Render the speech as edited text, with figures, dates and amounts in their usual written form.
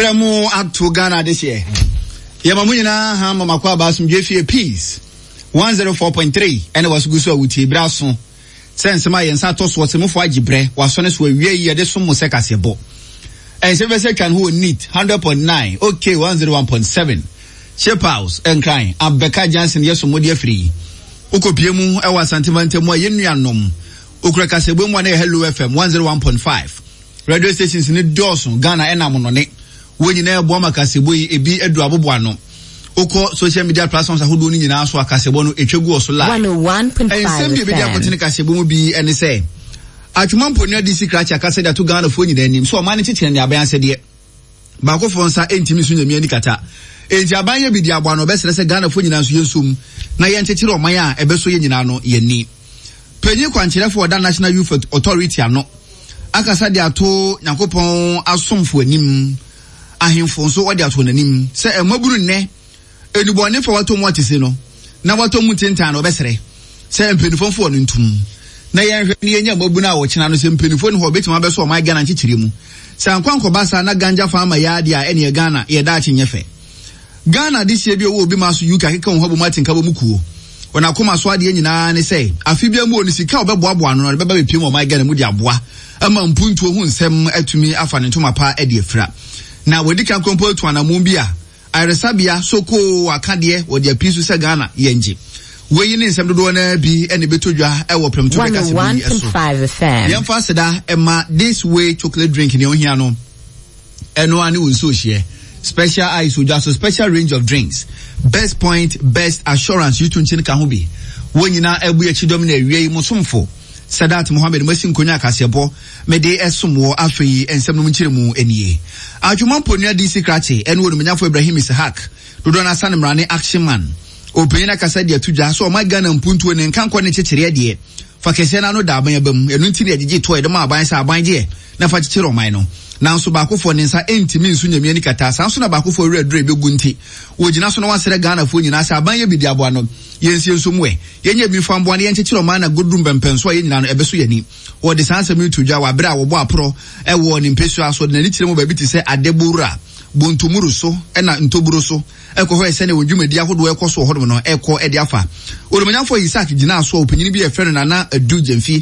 Brɛ mo ato Ghana adehyeɛ. Yɛma mo nyinaa ha ma makɔ aba asomdwe fie Peace 104.3 ɛne waso gu so a wotie berɛ aso sɛ nsɛm a yɛn nsa atɔ soɔ sɛ mofo agye berɛ wasɔ ne so awie yi yɛde som mo sɛ kaseɛbɔ. Ɛnsɛ bɛ sɛ twa ne ho wɔ neat 100.9 OK 101.7 Ship House Nkran Abɛka Johnson yɛ so mode afiri yi. Wokɔpie mu ɛwɔ Asante mantam mu a yɛn nuanom okura kaseɛbɔ mu a na yɛ Hello FM 101.5. Radio stations ne dɔɔso Ghana ɛna amonɔne. Wɔn nyinaa ɛboa ma kaseɛbɔ yi ebi adu abobo ano. Wokɔ social media platforms ahodoɔ no nyinaa so a kaseɛbɔ no etwa gu wɔ so live. 101.5 Nsɛm bi a ebedi akɔtene kaseɛbɔ mu bi ɛne sɛ Atwoma Mponua DC Krakye akasa de ato Ghanafoɔ nyinaa anim sɛ ɔman no kyekyere ne aban asɛdeɛ. Baakofoɔ nsa ntumi nso nyame ani kata. Enti aban yɛ bi de aboa no ɔbɛsrɛ sɛ Ghanafoɔ nyinaa nso yɛnsom na yɛnkyekyere ɔman a ɛbɛsɔ yɛn nyinaa no yɛn ani. Panyin kwankyerɛfoɔ ɔda National Youth Authority ano akasa de ato Nyankopɔn asomfo anim, ahemfo nso wɔde ato n'anim sɛ mmabunu nnɛ nnubɔne fa watɔ mu atese no na watɔ mu ntentan no ɔbɛsrɛ sɛ mpanimfoɔ mfo wɔn ntom na yɛnhwɛ ne yɛnya mmabunu a wɔkyena no sɛ mpanimfoɔ ne hɔ bɛtumi abɛsɔ ɔman Ghana nkyekyere mu. Sɛ ankɔ ankɔba saa na ganja fa ama yɛ adeɛ a ɛneɛ Ghana yɛ daakye nyɛ fɛ. Ghana adehyeɛ bi a ɔwɔ obi ma so UK akeka wɔn ho abom ate nkabɔ mu kuo. Wɔn akoma so adeɛ nyinaa ne sɛ afe biara mu wɔ ne sika a ɔbɛboaboa ano no ɔde bɛba bɛpiem wɔ ɔman Ghana mu de aboa ama mpuntuo ho nsɛm atumi afa ne ntoma pa de afira. Na wɔadi kan koraa mpo atu anammɔn bi a ayaresabea sokoo akadeɛ wɔde apii so sɛ Ghana yɛngye. Wei ne nsɛm dodoɔ no ara bi na ɛbɛtɔ dwa wɔ prɛmtoberɛ kaseɛbɔ yi so. 101.5 FM. Yɛmfa aseda ma This Way Chocolate Drink nea ohia no. Ɛno ara ne wo nsuo hyeɛ. Special ice odwa so special range of drinks. Best point, best assurance yutu nkyen ka ho bi. Wɔn nyinaa abu akyi dɔm na awia yi mo somfo Sadat Mohammed masi nkonwa akaseɛbɔ mede ɛsom wɔ afei nsɛm nom nkyerɛmu nie. Atwoma Mponua DC Krakye ɛne Onumnyafo Ibrahim Ishaq dodoɔ no asane mmara ne Action Man. Ɔpanyin akasa de ato dwa sɛ ɔman Ghana mpuntuo ne nkankɔ ne nkyekyereɛ deɛ fa kɛseɛ no ano da aban aba mu. Ɛno nti na yɛgyegye toɔ yɛde ma aban sɛ aban gyeɛ na fa kyekyere ɔman no. Nanso baakofoɔ ne nsa ntumi nso Nyame ani kata. Saa nso na baakofoɔ werɛ aduru a ɛbɛgu nti wɔgyina so na wɔasrɛ Ghanafoɔ nyinaa sɛ aban yɛ bi de aboa no. Yɛnsie nso mu ɛ. Yɛnyɛ bi mfa mboa na yɛnkyekyere ɔman na goduru mpɛmpɛnso a yɛn nyinaa no ɛbɛso yɛn ani. Wɔde saa nsɛm yi to dwa wɔ abere a wɔbɔ aporɔ wɔ ne mpesua so de n'ani kyerɛ mu baabi te sɛ Adebowura, Bontomuru so na Ntoburo so kɔhwɛɛ sɛnea wɔn dwumadi ahodoɔ ɛkɔ so wɔ hɔnom no ɛkɔ de afa. Onimonyamfoɔ Isaac gyinaa so a ɔpanyin bi a yɛfrɛ no Nana Adu Gyamfi.